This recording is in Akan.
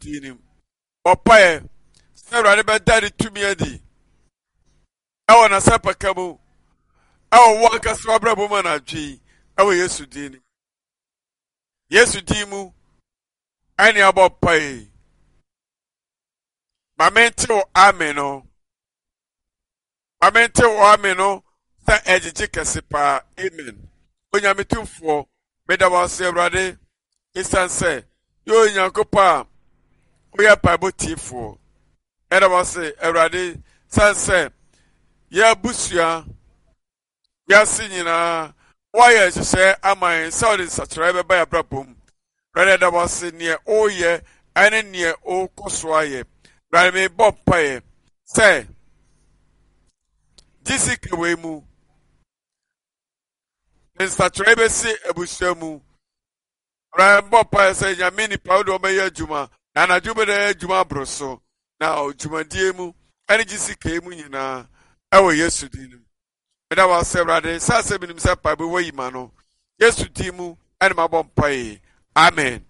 din mu. Bɔ mpaeɛ sɛ Awurade bɛda ne tumi adi ɛwɔ n'asɛmpaka mu ɛwɔ wo ankasa w'abrabɔ mu anadwo yi ɛwɔ Yesu din mu. Yesu din mu ɛne abɔ mpaeɛ yi. Ma mente wo amen no. Ma mente wo amen no sɛ ɛgyegye kɛse paa. Amen. Onyame tumfoɔ, meda wo ase Awurade, esiane sɛ yɛ Onyankopɔn a woyɛ mpaebɔ tiefoɔ. Ɛda wo ase Awurade, sane sɛ yɛ abusua wiase nyinaa woayɛ nhyehyɛe ama yɛn sɛ ɔde nsakyeraɛ bɛba yɛn abrabɔ mu. Awurade ɛda wo ase neɛ woyɛ ɛne neɛ wokɔ so ayɛ. Awurade mebɔ mpaeɛ sɛ gyesika wei mu nsakyeraɛ bɛsi abusua mu. Awurade bɔ mpaeɛ sɛ Nyame nipa wode wɔbɛyɛ adwuma na anadwo bɛda yɛ adwuma aboro so na dwumadie mu ɛne gyesika mu nyinaa ɛwɔ Yesu din mu. Meda wo ase Awurade sɛ asɛ menim sɛ mpaebɔ wayi ma no. Yesu din mu ɛne mabɔ mpaeɛ. Amen.